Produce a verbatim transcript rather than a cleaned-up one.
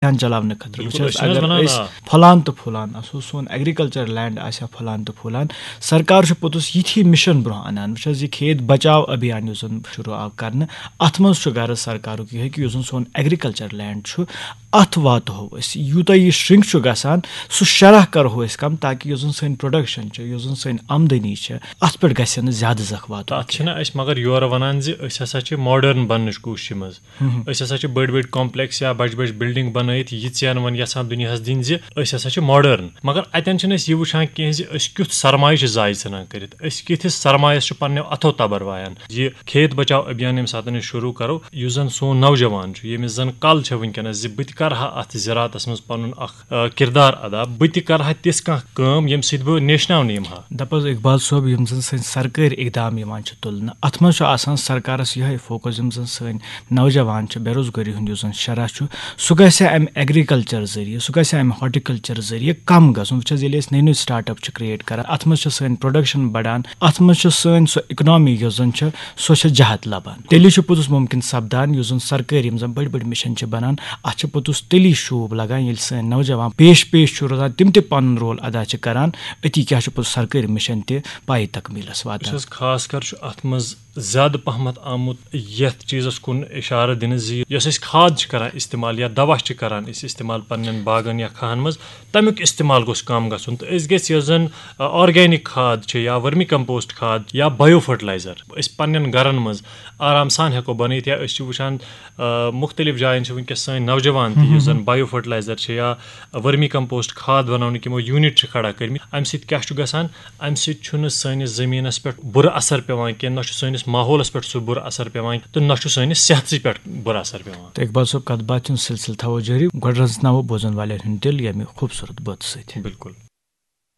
کھٮ۪ن چلاونہٕ خٲطرٕ۔ وٕچھ حظ، اگر أسۍ پھۄلان تہٕ پھۄلان آسو، سون ایگریکلچر لینڈ آسہِ ہا پھۄلان تہٕ پھۄلان، سرکار چھُ پوٚتُس یِتھی مِشن برونٛہہ انان۔ وٕچھ حظ، یہِ کھیت بچاو ابھیان یُس زن شروٗع آو کرنہٕ، اتھ منٛز چھُ غرض سرکارُک یِہوٚے کہِ یُس زن سون ایگریکلچر لینڈ چھُ، اتھ واتہو أسۍ، یوٗتاہ یہِ شرنک چھُ گژھان، سُہ شرح کرہو أسۍ کم، تاکہِ یُس زن سٲنۍ پروڈکشن چھِ، یُس زن سٲنۍ آمدنی چھِ، اتھ پٮ۪ٹھ گژھِ نہٕ زیادٕ زکھ واتُن۔ تتھ چھِنہ أسۍ مگر یورٕ ونان زِ أسۍ ہسا چھِ ماڈرن بننٕچ کوٗششہِ منٛز۔ أسۍ ہسا چھِ بٔڑۍ بٔڑۍ کمپلیکس یا بجہِ بجہِ بلڈنگ بنٲیِتھ یہِ ژین وۄنۍ یژھان دُنیاہس دِنۍ زِ أسۍ ہسا چھِ ماڈرن، مگر اتٮ۪ن چھِنہٕ أسۍ یہِ وٕچھان کینٛہہ زِ أسۍ کیُتھ سرمایہِ چھِ ضایع ژھٕنان کٔرِتھ، أسۍ کِتھِس سرمایس چھِ پننیو اتھو تبر وایان۔ یہِ کھیت بچاو ابھیان ییٚمہِ ساتہٕ أسۍ شروٗع کرو، یُس زن سون نوجوان چھُ، ییٚمِس زن کل چھےٚ وٕنکیٚنس زِ بہٕ تہِ کرٕ ہا اتھ زِراعتس منٛز پنُن اکھ، آ، کردار ادا، بہٕ تہِ کرٕ ہا تِژھ کانٛہہ کٲم ییٚمہِ سۭتۍ بہٕ نیشناونہٕ یِمہٕ ہا۔ دپ حظ اقبال صٲب، یِم زن سٲنۍ سرکٲرۍ اقدام یِوان چھِ تُلنہٕ، اتھ منٛز چھُ آسان سرکارس یِہوٚے فوکس، یِم زن سٲنۍ نوجوان چھِ، بے روزگٲری ہُنٛد یُس زن شرح چھُ، سُہ گژھِ امہِ ایگریکلچر ذٔریعہٕ، سُہ گژھِ امہِ ہارٹیکلچر ذٔریعہٕ کم گژھُن۔ وٕچھ حظ، ییٚلہِ أسۍ نٔے نٔے سٹارٹ اپ چھِ کریٹ کران، اتھ منٛز چھِ سٲنۍ پروڈکشن بڑان، اتھ منٛز چھِ سٲنۍ سۄ اکنامی یۄس زن چھِ، سۄ چھِ جہت لبان۔ تیٚلی چھُ پوٚتُس ممکن سپدان، یُس زن سرکٲرۍ یِم زن بٔڑۍ بٔڑۍ مِشن چھِ بنان، اتھ چھِ پوٚتُس تیٚلی شوٗب لگان، ییٚلہِ سٲنۍ نوجوان پیش پیش چھُ روزان، تِم تہِ پنُن رول ادا چھِ کران، أتی کیٛاہ چھُ پوٚتُس سرکٲرۍ مِشن تہِ پایہِ تکمیٖلس واتان۔ وٕچھ حظ، خاص کر چھُ اتھ منٛز زیادٕ پہمتھ آمُت یتھ چیٖزس کُن اشارٕ دِنہٕ زِ یۄس أسۍ کھاد چھِ کران استعمال یا دوا چھِ کران أسۍ استعمال پننٮ۪ن باغن یا کھاہن منٛز، تمیُک استعمال گوٚژھ کم گژھُن۔ تہٕ أسۍ گژھِ یۄس زن، آ، آرگینک کھاد چھِ یا ورمی کمپوسٹ کھاد یا بایو فرٹیلایزر أسۍ پننٮ۪ن گرن منٛز آرام سان ہٮ۪کو بنٲیِتھ۔ یا أسۍ چھِ وٕچھان، آ، مختلف جاین چھِ وٕنکیٚس سٲنۍ نوجوان تہِ، یُس زن بایو فرٹیلایزر چھِ یا ورمی کمپوسٹ کھاد بناونٕکۍ یِمو یوٗنٹ چھِ کھڑا کٔرمٕتۍ۔ امہِ سۭتۍ کیٛاہ چھُ گژھان؟ امہِ سۭتۍ چھُنہٕ سٲنِس زٔمیٖنَس پٮ۪ٹھ بُرٕ اثر پٮ۪وان کینٛہہ، نہ چھُ سٲنِس ماحولَس پٮ۪ٹھ سُہ بُرٕ اثر پٮ۪وان، تہٕ نہ چھُ سٲنِس صحتسٕے پٮ۪ٹھ بُرٕ اثر پٮ۪وان۔ تہٕ اقبال صٲب، کَتھ باتھ ہُنٛد سلسلہٕ تھاوو جٲری۔ گۄڈٕ رژناوو بوزن والٮ۪ن ہُنٛد دِل ییٚمہِ خوٗبصوٗرت بٲتہٕ سۭتۍ۔ بِلکُل۔